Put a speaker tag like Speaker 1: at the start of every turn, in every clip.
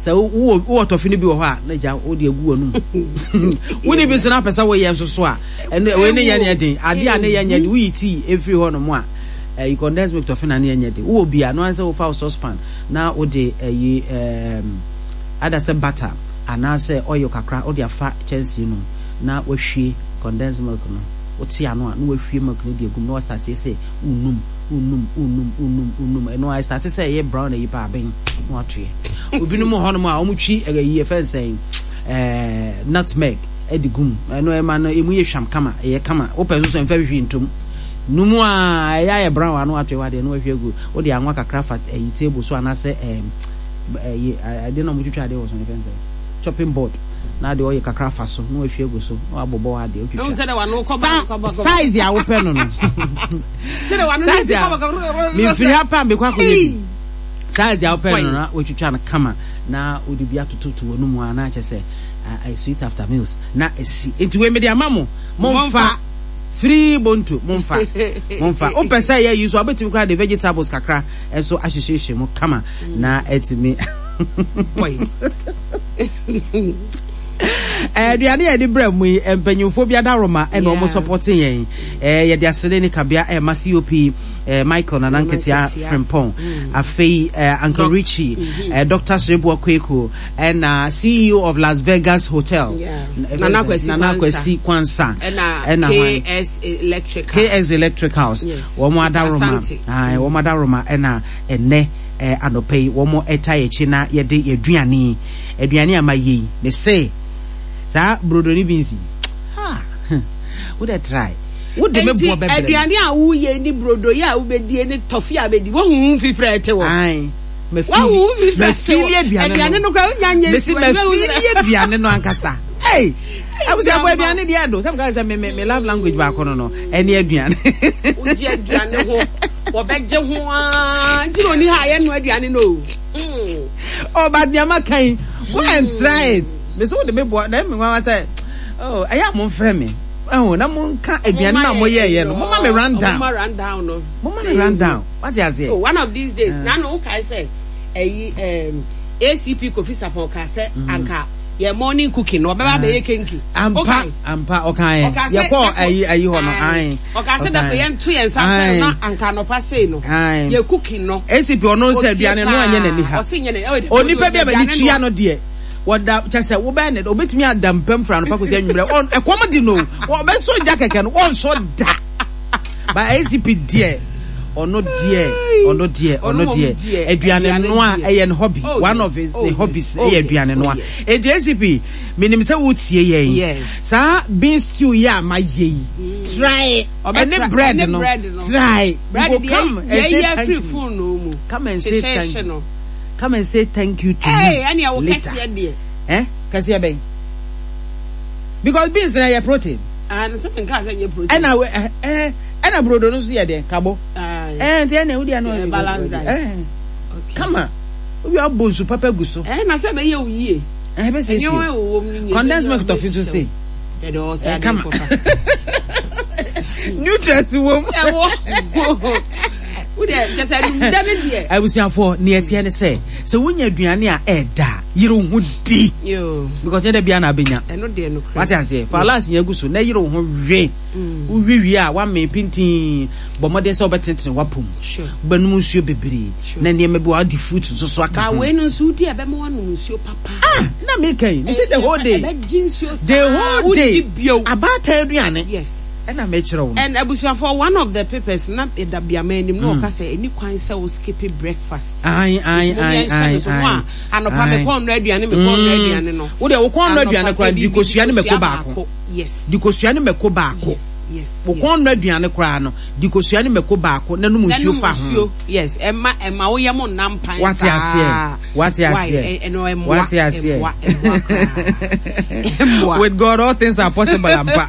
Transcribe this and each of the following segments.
Speaker 1: Sɛ wowɔ wowɔ tɔfe no bi wɔ hɔ a na gya wode agu w'anum. Wonni bi nso na apɛ sɛ woyɛ nso so a ɛno wei ne yɛ nyɛ den. Adeɛ a ne yɛ nyɛ den woyi tii efiri hɔ nom a ɛyi condensed milk tɔfe na ne yɛ nyɛ den. Wowɔ bi a no ansɛ wofa wo saucepan na wode ɛyi ɛɛm ada sɛ butter anaasɛ oil kakra wode afa kyɛnsee no mu na wahwie condensed milk no wote ano a na wahwie milk no de agu mu na wastart sɛ wonum wonum wonum wonum wonum ɛno a ɛstarte sɛ ɛyɛ brown ayi paa aben na watoɛ obinom wɔ hɔnom a wɔtwi ɛyi ɛfɛn sɛn ɛɛ nutmeg ɛde gum ɛno ɛma no emu yɛ hwam kama ɛyɛ kama wopɛ nso so ɛmfa hwehwɛ ntom numu a ɛyɛ ayɛ brown ano atoɛ wadeɛ na wahwie agu wode anwa kakra fa ɛyi table so anaasɛ ɛɛ ɛyi ɛde na wɔtwitwa adeɛ wɔ so no ɛfɛn sɛn chopping board na ade ɔyɛ kakra fa so na wahwie agu so na wabobɔ adeɛ otwitwa size a wopɛ no no size a mefiri ha paa mekɔ akɔyɛ bi size a wopɛ no na watwitwa no kama na wode bi atototo wɔ no mu a na kyɛ sɛ sweet after meals na ɛsi nti wei mede ama mo momfa free bonto momfa momfa wopɛ sɛ yɛ yi so a wobɛtumi koraa de vegetables kakra nso ahyehyɛhyɛ mu kama na atumi aduane a yɛde brɛ mu yi mpanyinfoɔ bi adaworoma ɛna wɔn sɔpɔte yɛn yɛde asene ne kabea ɛma cop michael nana nketea frimpong mm. afei uncle richie mm-hmm. dr sreboa kweku ɛna ceo of las vegas hotel nana kwasi kwansa
Speaker 2: ɛna ks electrical
Speaker 1: ks electricals wɔn adaworoma wɔn adaworoma ɛna ɛnɛ anɔpa yi wɔn ɛta yɛn akyi na yɛde yɛn aduane yi aduane a ma yɛ yi me se saa brodo ne beans yi ha wo de try wo de me boɔ bɛbrɛ
Speaker 2: aduane a woyɛ ne brodo yi a wobɛdie ne tɔfe a bɛdi wohu wo mfifrɛ ɛte wɔ
Speaker 1: mafili aduane no mesi mafili aduane no ankasa hey abusuafo aduane deɛ ɛdo sɛ meka sɛ me me love language baako no no ɛne aduane
Speaker 2: wogye aduane ho wɔbɛgye ho aa nti na ɔni ha a yɛnoa aduane no o
Speaker 1: mm. oh but nneɛma kan yi go and try it mesi wo de me boa na ɛmi nwanwa sɛ oh ɛyɛ a mo nfrɛ mi ɛho na mo nka aduane na mo yɛ yɛ no mo ma mi run down mo ma mi run down wate aseɛ.
Speaker 2: oh one of these days na no kae sɛ ɛyi ɛɛm acp kofi sapɔn ka sɛ anka yɛ morning cooking no ɔbɛba abɛyɛ kenki.
Speaker 1: Ampa ampa ɔka yɛ yɛkɔ ayi ayi hɔ no ayi.
Speaker 2: Ɔka sɛ dako yɛn to yɛn nsa fɛn na anka anɔpa sei no yɛ cooking no.
Speaker 1: ACP ɔno sɛ aduane no anyɛ n'ani ha. Onipa bi a m'ani tua no deɛ wɔda kyɛ sɛ wobɛyɛ ne obetumi ada mpam fira anɔpa kɔsi anwummerɛ ɛkɔm de no ɔbɛsɔ gya kɛkɛ no ɔnsɔ da ba ACP deɛ ɔno deɛ ɔno deɛ ɔno deɛ aduane noa ɛyɛ ne hobby oh, one of his ne oh, hobbies ɛyɛ oh, aduane noa eti ACP menim sɛ wotie yɛn saa bean stew yi a ma yɛ yi mm. try ɛne bread no try
Speaker 2: you go come and say thank you
Speaker 1: come and say thank you come and say thank you to me later eh kɛseɛ bɛn because beans na yɛ protein.
Speaker 2: Ah, no sɛ nka sɛ nyɛ protein.
Speaker 1: Ɛna eh eh ɛna brodo no nso yɛ deɛ kabo. Eh nti ɛna wodi ano.
Speaker 2: Balance diet.
Speaker 1: Eh. Kama. Obi abɔ nsu papa gu so.
Speaker 2: Eh na sɛ bɛyɛ wo yie.
Speaker 1: Eh bɛ sɛ si. Condensed milk tɔfi nso se.
Speaker 2: Eh
Speaker 1: kama. Nutrients wɔ mu.
Speaker 2: Ɛwɔ. Wode kyɛ sɛ dɛ ne deɛ.
Speaker 1: Abusuafoɔ nea ɛteɛ ne sɛ sɛ wonya aduane a ɛɛda yere wo ho di because nyɛ da biara na abɛnya wate aseɛ fa last nya gu so na yere wo ho we mm. wowe wie a woamee pintin bɔ mmɔden sɛ wobɛtenetene w'apom wobɛnom nsuo bebree na nneɛma bi wade fruit nso so aka ho
Speaker 2: wei no nso wodi a ɛbɛma woanom nsuo papa
Speaker 1: ah na meka yi mese the whole day the whole day abaatan aduane
Speaker 2: yes
Speaker 1: ɛna mekyerɛ wo no
Speaker 2: and abusuafoɔ one of the papers na ɛda biama anim na ɔka sɛ ɛni kwan sɛ wo skip breakfast
Speaker 1: Ae ae ae ae ae.
Speaker 2: Anɔpa me kɔn dɔ aduane me kɔn dɔ aduane no.
Speaker 1: Wo deɛ wo kɔn dɔ aduane koraa di kosua ne mako baako.
Speaker 2: Yes.
Speaker 1: Di kosua ne mako baako.
Speaker 2: Yes.
Speaker 1: Wo kɔn dɔ aduane koraa no di kosua ne mako baako na nom nsuo fa ho.
Speaker 2: Yes. Ɛma ɛma wo yam nna mpan saa.
Speaker 1: Wate aseɛ. Wate aseɛ.
Speaker 2: Ɛno ɛmoa.
Speaker 1: Wate aseɛ.
Speaker 2: Ɛmoa ɛmoa koraa.
Speaker 1: With God all things are possible ampa.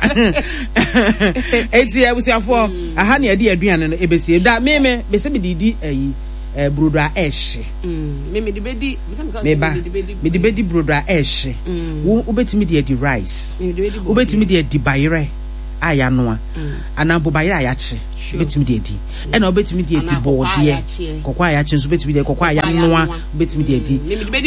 Speaker 1: Eti abusuafoɔ aha ne yɛde aduane no ebesie da me me bese me didi ayi. Eh, brodo a ɛhye.
Speaker 2: Mm, me mede bedi.
Speaker 1: Meba, mede bedi brodo a ɛhye. Mm. Wo wobɛtumi de adi rice. Wobɛtumi de adi bayerɛ. a yɛanoa anaa mpo bayerɛ a yɛakye wobɛtumi de adi. Ɛna wobɛtumi de adi bɔɔdeɛ, kɔkɔɔ a yɛakye nso wobɛtumi de, kɔkɔɔ a yɛanoa wobɛtumi de adi.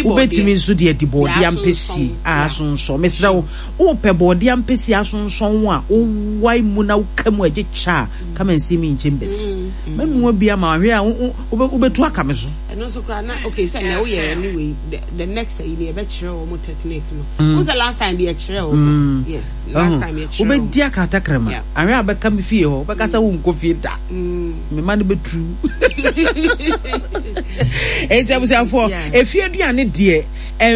Speaker 1: Wobɛtumi nso de adi bɔɔdeɛ ampesie a asonsɔn. Mesrɛ wo, wopɛ bɔɔdeɛ ampesie asonsɔn a wowae mu na woka mu a ɛgye kyɛ a, come and see me in chambers. Mɛnoa bi ama wo, ahwɛ a wobɛtu aka me so.
Speaker 2: Ɛno nso koraa na okay sɛ nea woyɛ anyway the, the next yi no yɛbɛkyerɛ wɔn technique no. Mm. Wo sɛ last time bi yɛkyerɛ wɔn. Mm. Yes, last time yɛkyerɛ wɔn.
Speaker 1: Wobɛdi aka atakrama. Ahwɛ a bɛka me fie hɔ, wobɛka sɛ wonkɔ fie da. Mm. Me ma no bɛturu. Enti abusuafoɔ, efie aduane deɛ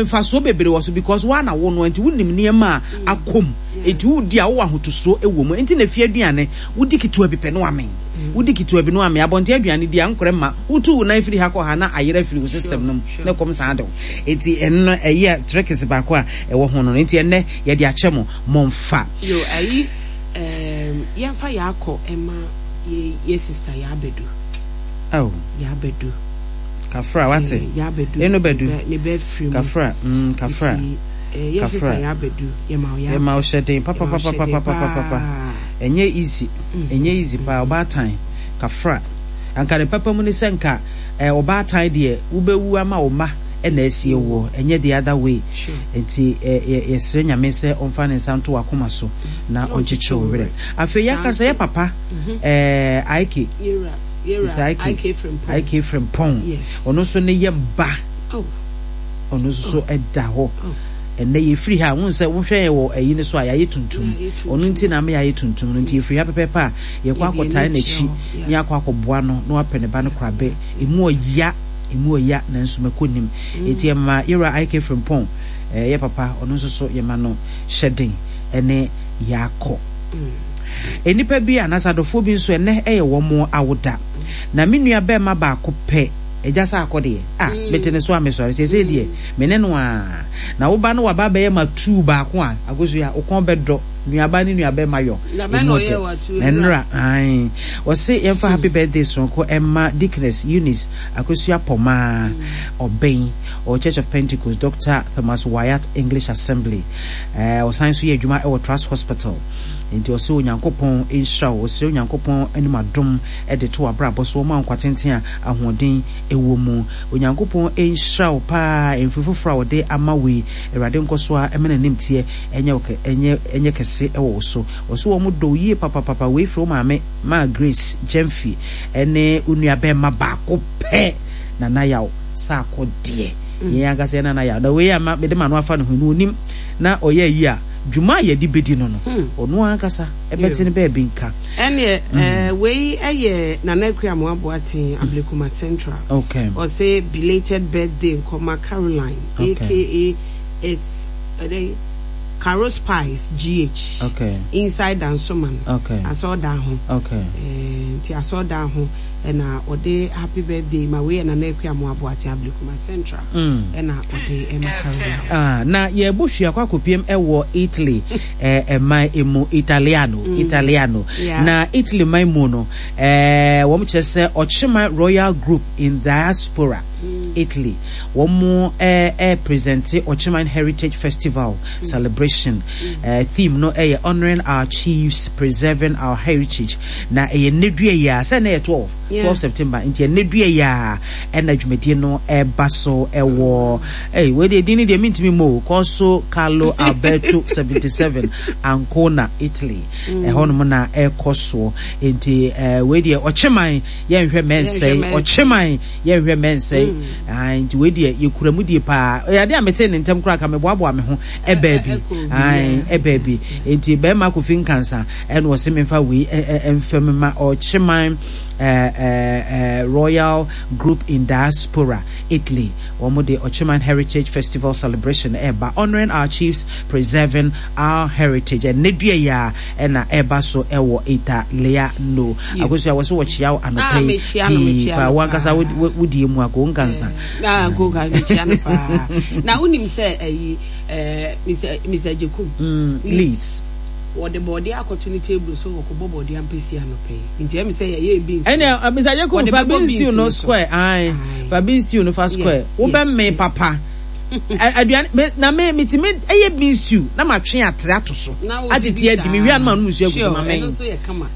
Speaker 1: mfasoɔ bebree wɔ so because woa na wo noa nti wonim nneɛma a akɔ mu. Enti wodi a wowɔ ahotosoɔ wɔ mu. Enti na efie aduane wodi ketewa bi pɛ na wamee. Wodi ketewa bi na wamee. Abɔnten aduane di a nkorɛ mma. Wotu wo nan firi ha kɔ ha na ayera afiri wo system no mu na ɛkɔm san de wo. Enti ɛno no ɛyɛ tricks baako a ɛwɔ ho no. Enti ɛnnɛ yɛde akyɛ mo, momfa.
Speaker 2: Yo, ayi ehm, yɛmfa yɛakɔ ɛma yɛ yɛ sister Yaabedu.
Speaker 1: Oh.
Speaker 2: Yaabedu.
Speaker 1: Kafra, wate?
Speaker 2: Eh, Yaabedu.
Speaker 1: Eno bedu.
Speaker 2: Ne bɛ firi mu.
Speaker 1: Kafra, mm, kafra.
Speaker 2: Nti, eh, yɛ sister Yaabedu, yɛma wo
Speaker 1: yɛakɔ. Yɛma wo hyɛden papapapapapapapa. Ɛnyɛ easy, ɛnyɛ easy paa, ɔbaatan, kafra. Anka ne papa mu ne sɛ nka eh, ɔbaatan deɛ wobɛwu ama wo mma na asie woɔ, ɛnyɛ the other way. Nti eh, yɛsrɛ Nyame sɛ ɔmfa ne nsa nto w'akoma so na ɔnkyekyere wo werɛ. Afei yɛaka sɛ yɛ papa eh, Aike, Mr. Aike, Aike Frimpong, ɔno nso ne yam ba, ɔno nso so ɛda hɔ. Ɛnnɛ yɛfiri ha a, wohu sɛ wohwɛ yɛn wɔ ayi no so a, yɛayɛ tuntum. Ɔno nti na ama yɛayɛ tuntum no. Nti yɛfiri ha pɛpɛɛpɛ a, yɛkɔ akɔtae n'akyi na yɛakɔ akɔboa no na wapɛ ne ba no korabɛ. Ɛmu ɔya, ɛmu ɔya, nanso mako nnim. Nti yɛma Yɛwura IK Frimpong, eh, yɛ papa, ɔno nso so yɛma no hyɛden ne yɛakɔ. Nnipa bi anaasɛ adɔfoɔ bi nso ɛnnɛ ɛyɛ wɔn awoda. Na me nua bɛɛma baako pɛ, agya sɛ akɔ deɛ, ah, mete ne so a mesɔre, seesei deɛ, Me ne no ara. Na wo ba no waba abɛyɛ m'atuu baako a, Akosua, wo kɔn bɛdɔ nuaba ne nuabɛrima yɔ. Emu ɔdɛ. Ɛnora, ae. Ɔse yɛmfa happy birthday soronko ɛma Deaconess Eunice Akosua Pɔmaa, Ɔbɛn, ɔwɔ Church of Pentecost, Doctor Thomas Wyatt English Assembly. Ɛɛ, ɔsan nso yɛ adwuma ɛwɔ Trust Hospital. Nti ɔse Onyankopɔn nhyira wo. Ɔsrɛ Onyankopɔn anim adom de to w'abrabɔ so, ɔma wo nkwa tenten a ahoɔden wɔ mu. Onyankopɔn nhyira wo paa mfe foforɔ a ɔde ama wo yi. Awurade nkɔ so ara mma n'animteɛ nyɛ wo kɛ nyɛ nyɛ kɛse wɔ wo so. Ɔse wɔn dɔ wo yie papapapa. Wei firi wo maame Maa Grace Gyamfi ne wo nua bɛɛma baako pɛ Nana Yaw Sarko deɛ. Yɛn ankasa yɛn Nana Yaw. Na wei a ma mede m'ano afa ne ho yi no ɔnim na ɔyɛ ayi a dwuma a yɛde bɛdi no no ɔno ankasa ɛbɛte ne baabi nka.
Speaker 2: Ɛneɛ eh, wei ɛyɛ Nana Akua Amoah Boateng, Ablekuma Central.
Speaker 1: Okay.
Speaker 2: Ɔse belated birthday nkɔma Caroline,
Speaker 1: Okay.
Speaker 2: aka it's ɛdɛn Caro Spice GH.
Speaker 1: Okay.
Speaker 2: Inside Dansoman.
Speaker 1: Okay.
Speaker 2: Asɔɔdan ho.
Speaker 1: Okay.
Speaker 2: Eh, nti asɔɔdan ho ɛna ɔde happy birthday ma wei yɛ Nana Akua Amoah Boateng, Ablekuma Central. Ɛna ɔde ɛma Caroline.
Speaker 1: Ah, na yɛbɔ hwia kɔ akɔpiem ɛwɔ Italy. eh, man mu Italiano mm. Italiano
Speaker 2: yeah.
Speaker 1: na Italy man mu no eh, wɔn kyerɛ sɛ ɔkyema Royal Group in Diaspora mm. Italy wɔn mo eh, eh, presente Ɔkyeman Heritage Festival mm. celebration mm. eh, theme no ɛyɛ eh, honoring our chiefs preserving our heritage na ɛyɛ nnedua yi a sɛ ɛnɛ yɛ 12
Speaker 2: yeah.
Speaker 1: 12 September nti ɛnnedua yi a ɛna dwumadie no ɛba so ɛwɔ Ei, wei deɛ din no deɛ mentumi mmɔ o. Corso Carlo Alberto 77, Ancona, Italy. Mm. Ɛhɔnom na ɛkɔ soɔ. Nti eh, wei deɛ ɔkyeman yɛnhwɛ mɛnsɛe. Ɔkyeman yɛnhwɛ mɛnsɛe. Mm. Ah, nti wei deɛ yɛkura mu die paa. Ɛyɛ adeɛ a metee ne ntɛm koraa ka meboaboa me ho ɛbaa bi. Ɛbaa bi. Nti bɛrima Kofi Nkansa ɛna ɔse memfa wei mfam ma ɔkyeman eh, eh, Royal Group in Diaspora, Italy. Wɔn de Okyeman Heritage Festival Celebration reba, Honouring Our Chiefs, Preserving Our Heritage. Ɛnnɛ dua yi ara na ɛreba so wɔ Italiano. Akosua, wɔ so wɔkyea wo anɔpa yi pii paa. Wo ankasa wo die mu ako nkansa.
Speaker 2: Ah, ko nkansa, mekyea no paa. Na wonim sɛ ayi Mr. Mr. Jekum.
Speaker 1: Leeds.
Speaker 2: Wɔde bɔɔdeɛ akɔto ne table so wɔkɔbɔ bɔɔdeɛ ampesi anɔpa yi. Nti ɛmi sɛ yɛyɛ beans.
Speaker 1: Ɛnna eh, Mr. Jekum fa beans stew no square. Aye. Fa beans stew no fa square. Wobɛmee papa. Aduane me na me metumi ɛyɛ bean stew na matwe atre ato so atete adi me wia no ma nom nsuo agu so ma men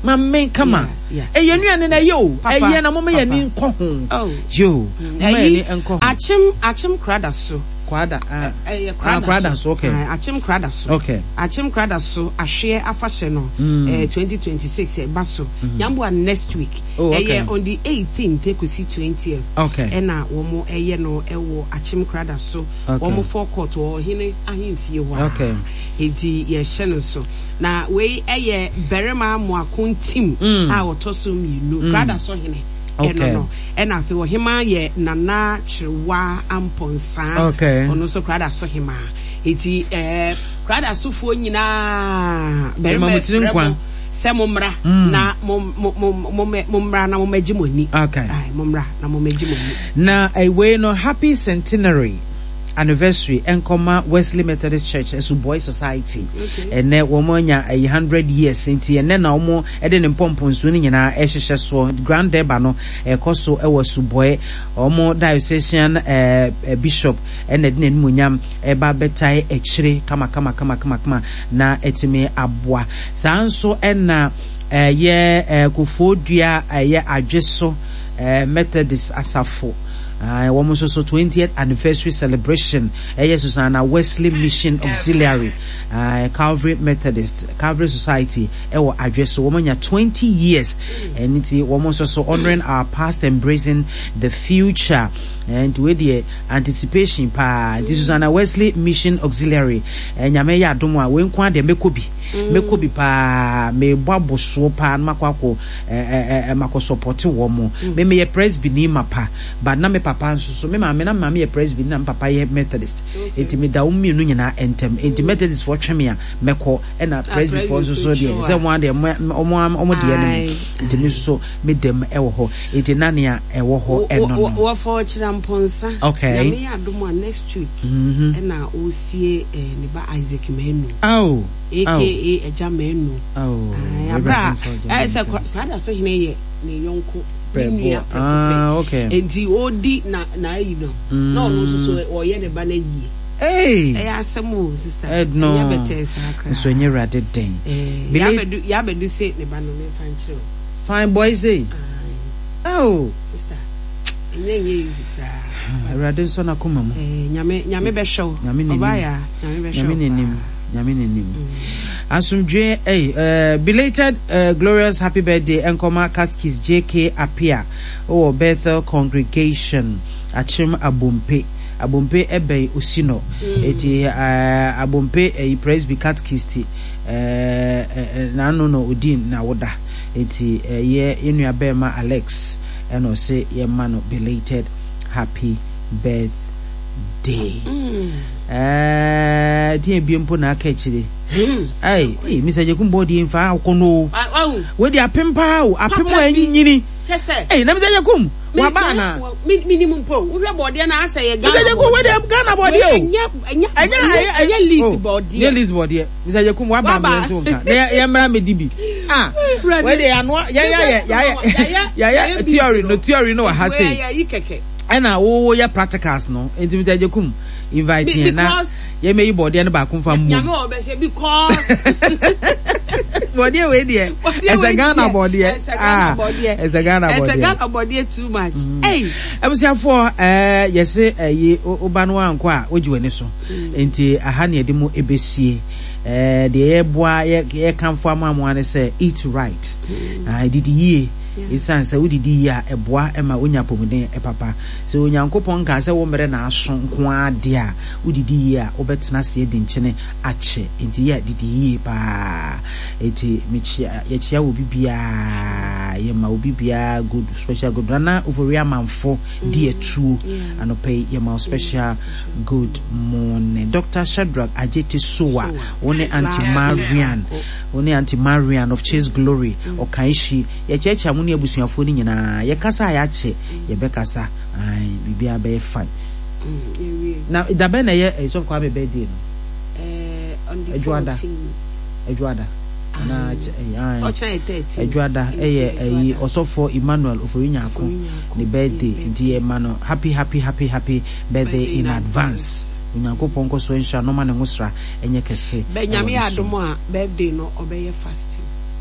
Speaker 1: ma men kama ɛyɛ nnuane na ɛyɛ o ɛyɛ na moma yɛ ani nkɔ ho yo moma yɛ ani nkɔ ho.
Speaker 2: Akyem akyem krada so.
Speaker 1: Kwada ah ɛyɛ ah krada so okay
Speaker 2: akyem krada so
Speaker 1: okay
Speaker 2: akyem krada so ahweɛ afahyɛ no mm. 2026 ɛba so mm. nyamboa next week oh, okay. ɛyɛ on the 18th ekosi 20th
Speaker 1: okay
Speaker 2: ɛna wɔn ɛyɛ no ɛwɔ akyem krada so
Speaker 1: okay.
Speaker 2: wɔn forecourt wɔ ɔhene ahemfie hɔ
Speaker 1: okay
Speaker 2: eti yɛhyɛ no so na wei ɛyɛ barima amoako ntim mm. a ɔtɔ so mmienu mm. krada so hene ɛno no ɛna afei ɔhemaa yɛ Nana Kyerewaa Amponsah
Speaker 1: okay.
Speaker 2: ɔno nso Kradaso hemaa eti ɛɛ eh, Kradasofoɔ nyinaa barima
Speaker 1: frɛ mo
Speaker 2: sɛ mo mmra mm. na mo mo mo mo mo mmra na mo mmɛgye mo ani
Speaker 1: okay.
Speaker 2: Ay, mo mmra na mo mmɛgye mo ani.
Speaker 1: Na wei no happy centenary anniversary nkɔma Wesley Methodist Church Asubɔe Society. Ɛnɛ wɔn anya ɛyi 100 years nti ɛnɛ na wɔn de ne mpɔmpɔnsuo no nyinaa ɛhyehyɛ soɔ. Grand Durbar no ɛkɔ so ɛwɔ Asubɔe. Wɔn diocesan ɛɛ bishop ɛna ɛde n'animuonyam ɛba bɛtae akyire kama kama kama kama kama na ɛtumi aboa. Saa nso ɛna ɛyɛ ɛɛ Kofoɔ Dua ɛyɛ Adweso ɛɛ Methodist asafo. Wɔn nso so 20th anniversary celebration ɛyɛ Susanna Wesley Mission Auxiliary, Calvary Methodist, Calvary Society ɛwɔ Adwe so. Wɔn anya 20 years. Ɛno nti wɔn nso so honoring our past, embracing the future. Nti wei deɛ anticipation paa. Nti Susanna Wesley Mission Auxiliary, Nyame yɛ adom a wei nko ara deɛ mɛkɔ bi. Mɛkɔ bi paa. Mebɔ abosoɔ paa na makɔ akɔ makɔ sɔpɔte wɔn. Me meyɛ Presbyni mapa, but na me papa nso so, me maame, na me maame yɛ Presbyni na me papa yɛ Methodist. Enti meda wɔn mmienu nyinaa ntam. Enti Methodist foɔ twe me a, mɛkɔ, ɛna Presby foɔ nso so deɛ, sɛ wɔn adeɛ, wɔn wɔn deɛ no mu. Enti me nso so meda mu ɛwɔ hɔ. Enti na nea ɛwɔ hɔ ɛno no.
Speaker 2: Wɔfa ɔkyerɛ mpɔnsa.
Speaker 1: Okay.
Speaker 2: Nyame yɛ adom a next week ɛna ɔresie ne ba Isaac Manu.
Speaker 1: Oh.
Speaker 2: Aka Agya Manu.
Speaker 1: Oh,
Speaker 2: Abra a ɛsɛ Kwada so hene yɛ ne yɔnko ne nua prɛko pɛ.
Speaker 1: Ah, okay.
Speaker 2: Enti ɔdi na na ayi no. Na ɔno nso so ɔyɛ ne ba no ayie.
Speaker 1: Hey.
Speaker 2: Ɛyɛ asɛm o sister.
Speaker 1: Ɛdno.
Speaker 2: Ɛnyɛ bɛtɛɛ saa koraa.
Speaker 1: Nso ɛnyɛ awurade den.
Speaker 2: Eh, yabɛdu yabɛdu se ne ba no memfa nkyerɛ o.
Speaker 1: Fine boy say. Oh.
Speaker 2: Sister. Ɛnyɛ nyɛ easy koraa.
Speaker 1: Awurade nsɔ n'akoma mu.
Speaker 2: Eh, nyame nyame bɛhwɛ wo.
Speaker 1: Nyame n'anim.
Speaker 2: Ɔbaa ya, nyame bɛhwɛ wo.
Speaker 1: Nyame n'anim. Nyame n'anim. Asomdwoe ei eh, belated eh, glorious happy birthday nkɔma Catechist JK Appiah wɔ Bethel Congregation Akyem Abompe. Abompe ɛbɛn Osinɔ. Eti eh, Abompe ɛyi Presby Catechist eh, eh, n'ano na odi n'awoda. Eti ɛyɛ yɛn nua bɛɛma Alex ɛna ɔse yɛma no belated happy birthday. Ɛɛ deɛ ebie mpo na aka akyire. Ɛy, ee, Mr. Jekum bɔ deɛ nfa akɔ no. Wei deɛ apem paa o, apem a ɛnyini. Ɛy, na Mr. Jekum, waba ana?
Speaker 2: Mi mi ni mu mpo, wohwɛ bɔdeɛ na asɛ yɛ Ghana.
Speaker 1: Mr. Jekum, wei deɛ Ghana bɔdeɛ o.
Speaker 2: Ɛnyɛ ɛnyɛ ɛnyɛ list bɔdeɛ.
Speaker 1: Ɛnyɛ list bɔdeɛ. Mr. Jekum, waba mi nso nka. Na yɛ mmra mi di bi. Ah, wei deɛ yanoa, yɛ yɛ yɛ yɛ yɛ theory no theory no wɔ ha sei. Ɛna wo yɛ practicals no, nti Mr. Jekum. Invite yɛn na yɛmɛyi bɔɔdeɛ no baako nfa mmom.
Speaker 2: Nyame wɔ bɛsɛ because.
Speaker 1: Bɔɔdeɛ wei deɛ ɛsɛ Ghana bɔɔdeɛ.
Speaker 2: Ɛsɛ Ghana bɔɔdeɛ.
Speaker 1: Ɛsɛ Ghana bɔɔdeɛ.
Speaker 2: Ɛsɛ Ghana bɔɔdeɛ too much. Hey.
Speaker 1: Abusuafoɔ ɛɛ yɛse ɛyi woba no ankɔ a wogye w'ani so. Nti aha ne yɛde mu ebesie. Ɛɛ deɛ yɛboa yɛ yɛkamfo ama mo ne sɛ eat right. Ah didi yie. Esiane sɛ wodidi yie a ɛboa ma wonya apɔmuden papa. Sɛ Onyankopɔn nkaa sɛ wo mmerɛ na aso nko ara deɛ a, wodidi yie a, wobɛtena ase adi nkyene akyɛ. Enti yɛ didi yie pa ara. Enti mekyia, yɛkyia obi biara, yɛma obi biara good, special good. Nana Ofori Amanfo di atuo anɔpa yi, yɛma wo special good morning. Doctor Shadrach Adjetey Sowa, wo ne Auntie Marian, wo ne Auntie Marian of Chase Glory, Ɔkanhyi, yɛkyerɛkyerɛ mo ne abusuafoɔ no nyinaa. Yɛkasa a yɛakyɛ. Yɛbɛkasa ae biribiara bɛyɛ fine. Na da bɛn na ɛyɛ Sɔfo Kwame birthday no? Adwoada. Adwoada. Anaa ae. Adwoada ɛyɛ ɛyi Ɔsɔfo Emmanuel Ofori Nyarko ne birthday nti yɛ ma no happy happy happy happy birthday in advance. Onyankopɔn nkɔ so nhyira no ma ne ngosra nyɛ kɛse
Speaker 2: Bɛ
Speaker 1: wɔ
Speaker 2: Nyame
Speaker 1: ne so.
Speaker 2: adom a birthday no ɔbɛyɛ fasting.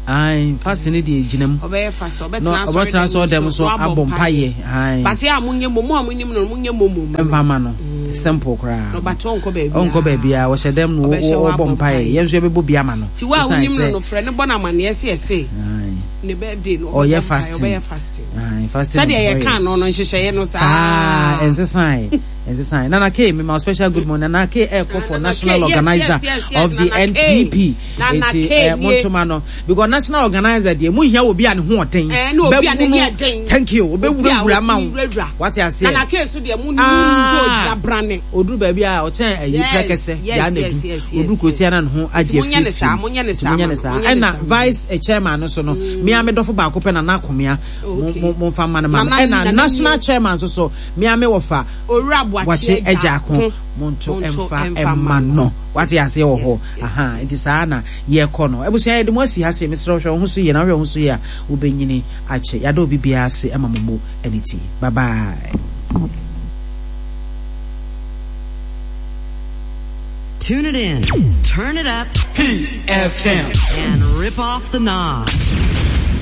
Speaker 1: Ae fasting no deɛ gyina mu.
Speaker 2: Ɔbɛyɛ fasting, ɔbɛtena
Speaker 1: Na ɔbɛtena
Speaker 2: asɔre
Speaker 1: asɔre dɛm
Speaker 2: so
Speaker 1: so
Speaker 2: na wabɔ
Speaker 1: abɔ
Speaker 2: mpaeɛ.
Speaker 1: mpaeɛ. Ae.
Speaker 2: But yɛ a monyɛ mmom, mo a monim no no monyɛ mmom mma no.
Speaker 1: Mfa ma no. Simple koraa.
Speaker 2: Na ɔbate ɔnkɔ baabiara.
Speaker 1: Ɔnkɔ baabiara, ɔhyɛ dɛm na
Speaker 2: Ɔbɛhyɛ hɔ
Speaker 1: ɔbɔ
Speaker 2: abɔ
Speaker 1: mpaeɛ.
Speaker 2: mpaeɛ.
Speaker 1: Yɛn nso yɛbɛbɔ bi ama no.
Speaker 2: Nti wo a
Speaker 1: Ɛsiane
Speaker 2: wonim no
Speaker 1: sɛ
Speaker 2: no frɛ no bɔ no amaneɛ sɛ yɛse
Speaker 1: Ae.
Speaker 2: ne birthday no
Speaker 1: Ɔyɛ
Speaker 2: ɔbɛbɔ mpaeɛ,
Speaker 1: fasting.
Speaker 2: ɔbɛyɛ fasting.
Speaker 1: Ae, fasting and
Speaker 2: Sɛdeɛ yɛkaa
Speaker 1: prayers.
Speaker 2: no no nhyehyɛeɛ no
Speaker 1: Saa,
Speaker 2: saa.
Speaker 1: ɛnsesae. Ɛnsesae. Nana K, mema wo special good morning. Nana K ɛɛkɔ for
Speaker 2: Nana
Speaker 1: national
Speaker 2: K, yes,
Speaker 1: organizer
Speaker 2: yes, yes, yes,
Speaker 1: of the
Speaker 2: Nana K.
Speaker 1: NPP.
Speaker 2: Nana
Speaker 1: Eti
Speaker 2: K
Speaker 1: eh,
Speaker 2: nie.
Speaker 1: montoma no. Because national organizer deɛ, mo hia obi a ne ho ɔden.
Speaker 2: Eh, ne obi a
Speaker 1: Bɛbu
Speaker 2: n'ani
Speaker 1: no.
Speaker 2: ɛden.
Speaker 1: Thank you.
Speaker 2: Obi a
Speaker 1: Obɛwurawura ma
Speaker 2: otumi
Speaker 1: wo.
Speaker 2: wurawura.
Speaker 1: Wate aseɛ?
Speaker 2: Nana K so deɛ mo nim
Speaker 1: Ah.
Speaker 2: sɛ ogyina brane.
Speaker 1: Oduru baabi a ɔkyɛn ayi
Speaker 2: Yes,
Speaker 1: prɛkɛsɛ,
Speaker 2: yes,
Speaker 1: gyaa na
Speaker 2: yes,
Speaker 1: du.
Speaker 2: yes, yes,
Speaker 1: Oduru kurotia na ne ho agye
Speaker 2: Nti monyɛ ne
Speaker 1: afiri
Speaker 2: saa,
Speaker 1: firi.
Speaker 2: monyɛ ne
Speaker 1: Nti
Speaker 2: saa
Speaker 1: monyɛ
Speaker 2: ma
Speaker 1: ne
Speaker 2: no,
Speaker 1: saa.
Speaker 2: monyɛ ne
Speaker 1: Ɛna
Speaker 2: saa ma no.
Speaker 1: vice eh, chairman no so no, me a me dɔfo baako pɛ Nana Akomea.
Speaker 2: Oh,
Speaker 1: Mo
Speaker 2: okay.
Speaker 1: mo momfa mma no ma no.
Speaker 2: Nana
Speaker 1: Ɛna
Speaker 2: Nana
Speaker 1: national
Speaker 2: nie.
Speaker 1: chairman nso so, me a me wɔfa
Speaker 2: Owura Boakye
Speaker 1: Boakye
Speaker 2: Agya
Speaker 1: Agyako.
Speaker 2: Ko.
Speaker 1: Monto
Speaker 2: Monto
Speaker 1: mfa
Speaker 2: mfa
Speaker 1: mma
Speaker 2: mma
Speaker 1: no.
Speaker 2: no.
Speaker 1: Wate aseɛ wɔ hɔ.
Speaker 2: Yes, yes.
Speaker 1: Aha, nti saa na yɛkɔ no. Abusua yɛde mo asi ha se, mesrɛ wo hwɛ wo ho so yie na wohwɛ wo ho so yie a, wobɛnyini akyɛ. Yɛada obi biara ase ama mo mo ani ti. Bye bye.
Speaker 3: Tune it in, turn it up,
Speaker 4: Peace FM.
Speaker 3: and rip off the knob.